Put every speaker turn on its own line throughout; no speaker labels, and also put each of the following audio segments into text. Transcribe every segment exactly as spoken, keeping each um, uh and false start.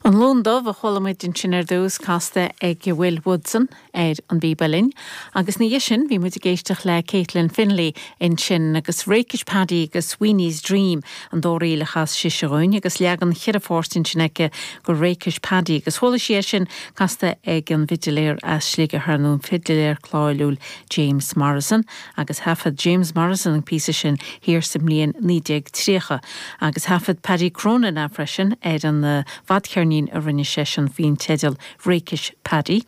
An Lon Dubh a chuala muid ansin ar dtús casta ag Will Woodson ar an bpíb uilleann, agus ina dhiaidh sin bhí muid ag éisteacht le Caitlin Finlay ansin agus Rakish Paddy agus Sweeney's Dream an dá ríl a chas sise dhúinn agus leagan cheithre pháirt ansin aici de Rakish Paddy agus chuala sé sin casta ag an bhfidiléir as Sligeach ar ndóigh an fidiléir cáiliúil James Morrison agus thaifead James Morrison an píosa sin thiar sa mbliain naoi déag tríocha agus thaifead Paddy Cronin é freisin ar an uh, bhfadcheirnín a rinne seisean faoin teideal Rakish Paddy.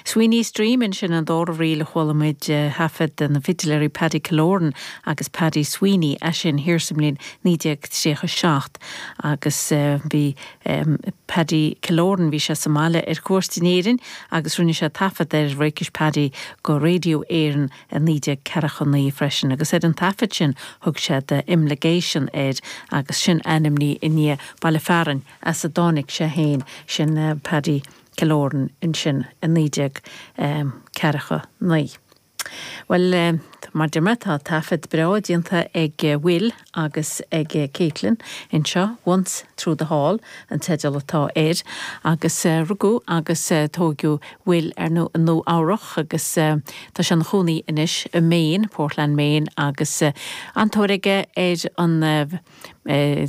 Sweeney's Dream ansin an dara ríl a chuala muid uh, thaifead na fidiléirí Paddy Killoran agus Paddy Sweeney é sin thiar sa mbliain naoi déag tríocha seacht agus uh, bhí um, Paddy Killoran bhí sé sa mbaile ar cuairt in Éirinn agus rinne sé taifead ar Rakish Paddy go Radio Éireann i naoi déag ceathracha naoi freisin agus ar an taifead sin thug sé The Imligation air agus sin ainmní i ndiaidh baile fearainn as a dtáinig sé féin sin uh, Paddy Killoran ansin i naoi déag um, ceathracha naoi. Well uh, mar deir tá taifead breá déanta ag uh, Will agus ag uh, Caitlin anseo Once Through the Hall an teideal atá air agus uh, rugadh agus uh, tógadh Will ar nó nó áireach agus uh, tá sé ina chónaí anois i Maine, Portland Maine agus uh, an-tóir aige ar an uh,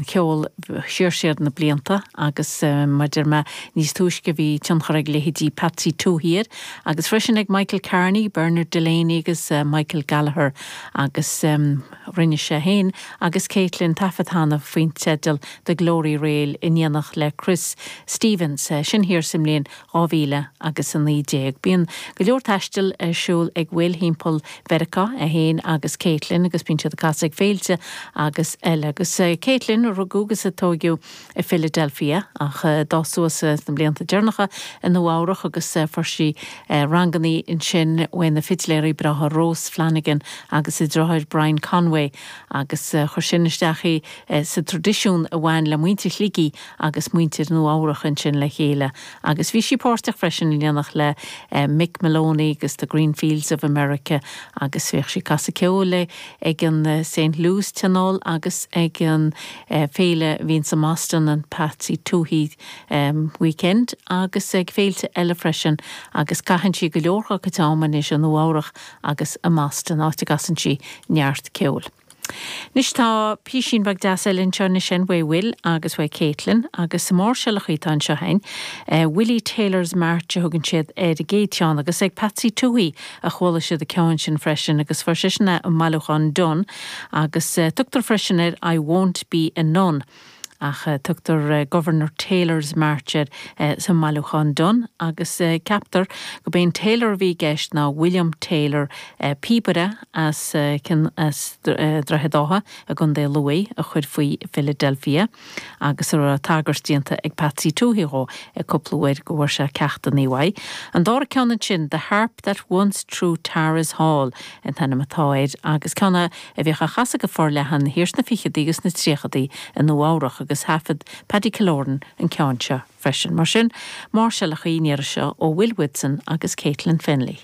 ceol siar siar na blianta agus uh, mar deir mé níos túisce bhí tionchar ag leithéidí Patsy Touhey air agus freisin ag Michael Carney, Bernard Delaney agus uh, Michael Gallagher agus um, rinne sé féin agus Caitlin taifead cheana faoin teideal The Glory Reel in éineacht le Chris Stevens uh, sin thiar sa mbliain dhá mhíle agus a naoi déag. Bíonn go leor taistil ar siúl ag Will timpeall Mheiriceá é féin agus Caitlin agus bíonn siad ag casadh ag féilte agus eile agus uh, Caitlin rugadh agus a tógadh i Philadelphia ach d'fhás suas na blianta deireanacha i Nua Eabhrac agus fuair sí ranganna ansin ó na fidiléirí breátha Rose Flanagan agus a deartháir Brian Conway agus chuir sin isteach í sa traidisiún a bhain le muintir Shligigh agus muintir Nua Eabhrac ansin le chéile. agus bhí sí páirteach freisin in éineacht le Mick Moloney agus the Green Fields of America agus bhíodh sí ag casadh ceoil ag an St. Louis Tionól agus ag an féile a bhíonn i mBoston an Patsy Touhey um, weekend agus ag féilte eile freisin agus caitheann sí go leor go t-am anois i Nua Eabhrac agus i mBoston áit a gcasann sí neart ceoil. Anois tá píosín beag deas eile anseo sin uaidh Will agus uaidh Caitlin agus sa máirseálacha atá anseo féin, uh, Willie Taylor's March a thugann siad ar an gcéad cheann agus ag Patsy Touhey a chuala siad an ceann sin freisin agus fuair sé sin i mbailiúchán Dunne agus uh, tugtar freisin ar I won't be a nun. ach uh, tugtar uh, Governor Taylor's March air uh, sa mbailiúchán Dunne agus uh, ceaptar gurb é Taylor a bhí i gceist ná William Taylor uh, píobaire as uh, cin as uh, Droichead Átha i gContae Lú a chuir faoi Philadelphia agus ar tagairt déanta ag Patsy Touhey dó ag cúpla uair go bhfuair sé ceachtanna uaidh. An dara ceann sin the harp that once through Tara's Hall an t-ainm atá air agus ceann a bhíodh á chasadh go forleathan thiar sna fichidí agus na tríochaidí i Nua Eabhrac agus thaifead Paddy Killoran an ceann seo freisin. Mar sin máirseálacha an iarraidh seo ó Will Woodson agus Caitlin Finlay.